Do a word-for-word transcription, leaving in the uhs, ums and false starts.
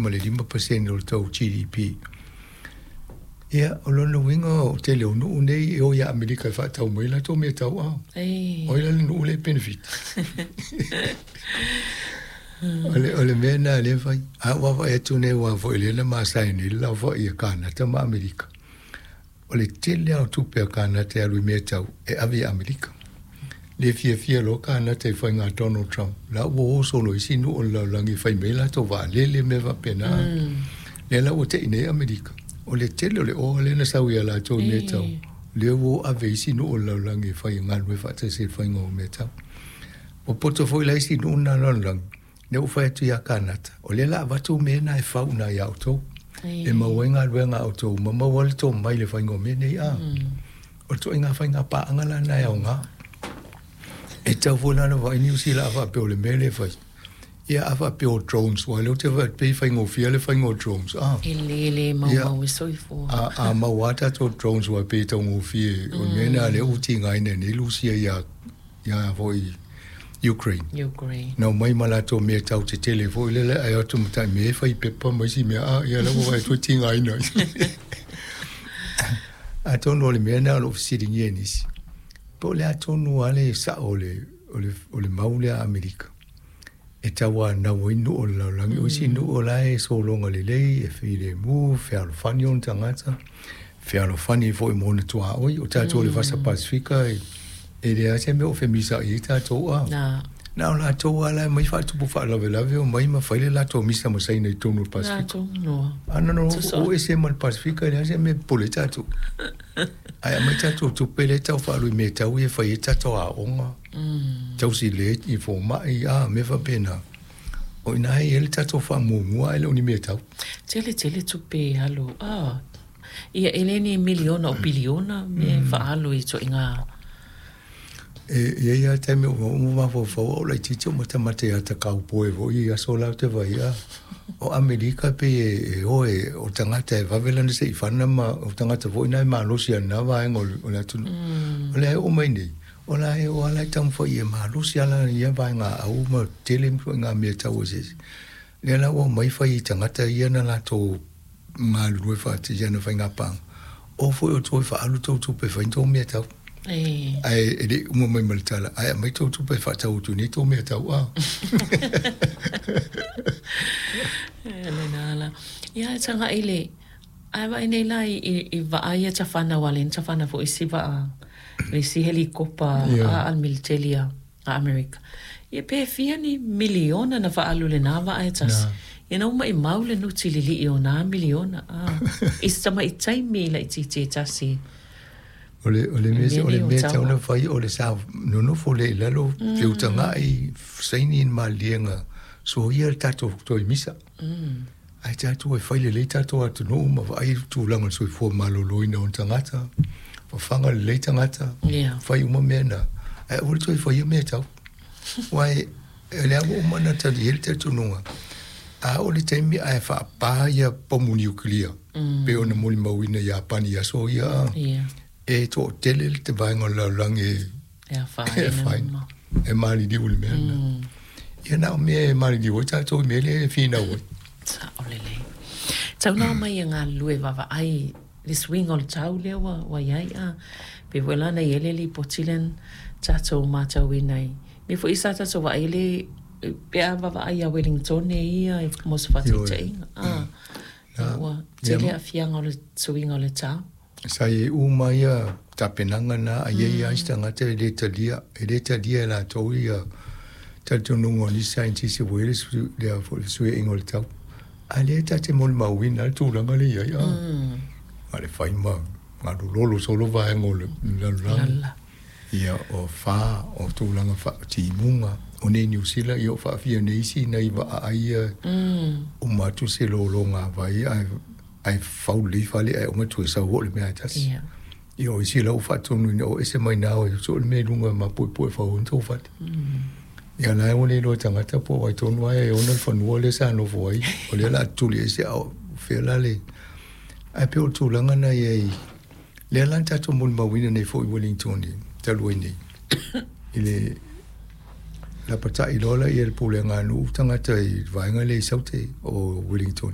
ma le lima pasene o le tou G D P. Ia, o lona uiga o tele o nuu nei e o ia Amerika e faatau mai latou mea tauao. O ai la le nuu lea e benefit. O le, o le mea na lea fai. A ua vaai atu nei ua foi lea na masae nei le laofai a Kanata ma Amerika. O le tele lava o tupe a Kanata e alu i mea tau e ave i Amerika. Le fiafia loa Kanata i faiga Donald Trump. La ua o solo isi nuu o le lalolagi e fai mai latou vaalele mea faapena. Lea la ua tei nei Amerika. O le tele o le oa lea na sau ia latou i mea tau. Lea ua ave isi nuu o le lalolagi e fai galue faatasi i le faiga o mea tau. Ua poto foi la isi nuu na lalolagi. Lea ua fai atu ia Kanata. O lea la avatu mea na e fau na ia outou. E maua ai galuega a outou ma maua le tomai i le faiga o mea nei a. O le ituaiga faiga paaga la na e aoga. E tau foi la na vaai Niu Sila a faapea o le mea lea e fai. Ia a faapea o drones, aua lea ou te vaai atu pei e faigofie le faiga o drones. Ah. E le le maumau e soifua. A, a maua lava tatou drones aua pei e taugofie. O le mea lena lea ua tigaina nei Lusia ia, ia foi Ukraine. Ukraine. Na omai ma latou mea tau tetele foi lele ae o atu ma tai mea e fai pepa ma isi mea, a, ia la ua vaai atu e tigaina ai. Atonu o le mea lena o lo o fesiligia e nisi. Po o le a tonu lava le sao o le, o le, o le mau lea a Amerika. E tauanau ai nuu o le lalolagi. O isi nuu o la e sologa lelei, e filemu, fealofani ona tagata, fealofani foi mo ona tuaoi. O tatou o le Vasa Pasifika, e, e leai se mea o femisaai ai tatou a. Na. Na o latou lava la e mai faatupu faalavelave o mai ma fai le latou misa ma Saina i totonu o le Pasifika. Latou noa. A na no o ese ma le Pasifika, e leai se mea e popole ai tatou. Ae aumai tatou tupe lea e tau faaalu i mea tau ia e fai ai tatou aoga, tausi le i fomai, a mea faapena. O i ina e i ai le tatou faamuamua ae le o ni mea tau. Tele tele tupe e alu. Ah, ia e le ni miliona o piliona mea e faaalu i ituaiga. E i ai lava taimi o ou mafaufau au laitiiti o matamata ia ta kaupoe foi i aso la ou te vaai a. O Amerika pei e, e o e, o tagata e vave lana seifana ma o tagata foi na e malosi a lena vaega o le, o le atunuu. O lea e oo mai nei, o la e o ala e taumafai e malosi ala ia vaega au ma tele ituaiga mea tau eseese. Lea la ua omai fai i tagata ia na latou galulue faatasi ana faiga paaga. O foi o toe faaalu tou tupe e fai ni tou mea tau. Ae e le i uma mai ma le tala, ae aumai tou tupe e faatau atu nei tou mea tau a. E lena la. Ia e tagai le, ae vaai nei la i, i, i vaa ia tafana aua lea na tafana foi isi vaa, le isi helikopa a a le militeli a a Amerika. Ia pe fia ni miliona na faaalu i lena vaa e tasi. Ia na uma i mau le nuti lilii o nā miliona a i se tamaʻi taimi laitiiti e tasi. O le, o le mea, o le mea tau na fai, o le sa nonofo lea i lalo, feutagai, saini ni maliega, soia le tatou toe misa. Ae tatou e fai lelei tatou atunuu ma vaai le tulaga o le soifua maloloina o tagata, fafaga lelei tagata, fai uma mea na. Ae aua le toe faia mea tau. Aua e, o lea ua uma ona tali ai le talitonuga, a oo le taimi ae faapa ia pomu niukilia, pei ona molimauina i Iapani i aso ia, a, e toatele le vaega o le lalolagi e afaina, e maliliu i le mea lena. Ia na o mea e maliliu ai tatou i mea lea e finau ai. Sao lelei. Tau na omai e galulue vaavaai le suiga o le tau lea ua, ua iai a. Pei foi la na i ai le lipoti lea na tatou matauina i mea foi sa tatou vaai le pe a vaavaai ia Wellingtone ia mo se faataitaiga. A, ua tele aafiaga o le suiga o le tau. Sa i ai uma ia tapenaga na, a i ai lava isi tagata e le talia, e le talia e latou ia talitonuga o nisi scientist ua i ai le lea foi le fesuiaiga o le tau. A lea ta te molimauina le tulaga lea i ai, a. A le fai ma galulolo solo vaega o le lalolagi. Ia, o fa, o tulaga faatimuga, o nei Niu Sila, ia o faafia nei isi nai vaa ai ia, uma atu se lologa vai ae ae fau lelei fale ae uma toe sau oo le mea e tasi. Ia o isi la ua faatonuina o ese mai na o soo le mea i luga mapuepue e fau ai ni tou fale. Ia la e ua le iloa e tagata po o ai tonu ae e ona le fanua lea sa nofo ai, o lea o le a tuli ese a o fea la le. Ae pei o le tulaga na i ai, lea la na tatou molimauina nei foi i Wellington talu ai nei, i le lapatai loa lea i le pulega a nuu tagata i le vaega lea i Saute o Wellington.